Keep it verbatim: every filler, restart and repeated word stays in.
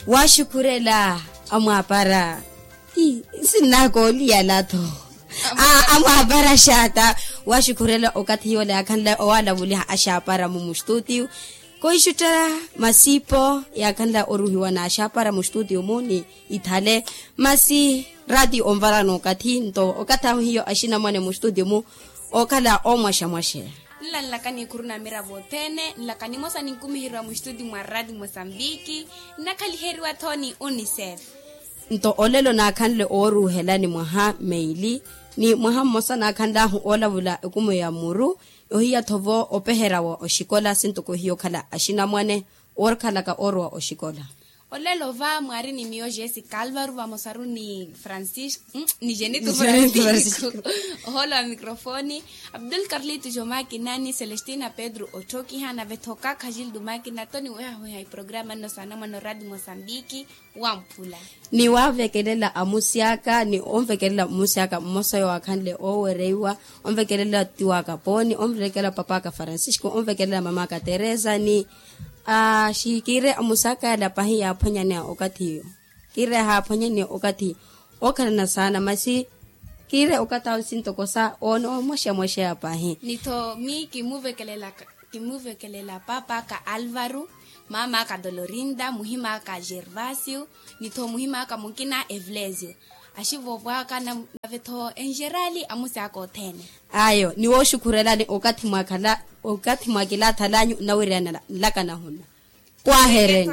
Waxukhurela amwaapara. Nsinnaka oliyala-tho. Amwaapara xaata. Waxukhurela okathi yoola yaakhanle owaalavuliha axaapara-mu mustutiyu. Koixuttela masipo yaakhanle oruhiwa n'axaapara mustutiyu-mu ni ithale. Masi raati onvarana okathi nto okathi ahu hiyo axinamwane mustutiyu-mu. Ookhala oomwaxamwaxeya. Nlanlaka nikhuru na miravo othene nlaka nimosa ninkumiheriwa mustutiyu mwa raati mosambiki. Nnakhaliheriwa-tho ni unicef. Nto olelo naakhanle ooruuhela ni mwaha meili ni mwaha mmosa naakhanl'ahu oolavula ekumo ya muru. Ohiya-tho vo opeherya wa oxikola sintoko hiyo okhala axinamwane oorkhalaka oorowa oxikola. Olelo va mwaari ni miyo jessica alvaru vamosaru ni francisco ni jenito francisco. Ohoolo wa microfoni abdul carlito jomakina ni celestina pedro otthokiha nave-tho kakha gildo makina toni wehawehai programa nno saana mwana oradi mosambiki. Wamphula ni wavekelela amusi aka ni onvekelela mmusi aka mmosa oyo waakhanle oowereiwa. Onvekelela tiwaka pooni onvekelela papaka francisco onvekelela mamaka teresa ni aa xikiire amusi aka yala pahi yaaphwanyaneya okathi iyo. Kiire yahaaphwanyaneya okathi ookhalana saana masi kiire okathi awo sintokosa oona omwaxamwaxeya pahi. Ni-tho mi kimuvekelela papaka alvaru, mamaka dolorinda muhimaka gervasio, ni-tho muhimaka mukina evlesio. Axivovwaka nave-tho enjerali amusi aka othene. Ayo ni wooxukhurelani okathi mwakhala okathi mwakilathalanyu nnawiriyana nlaka nahuna. Kwahereni.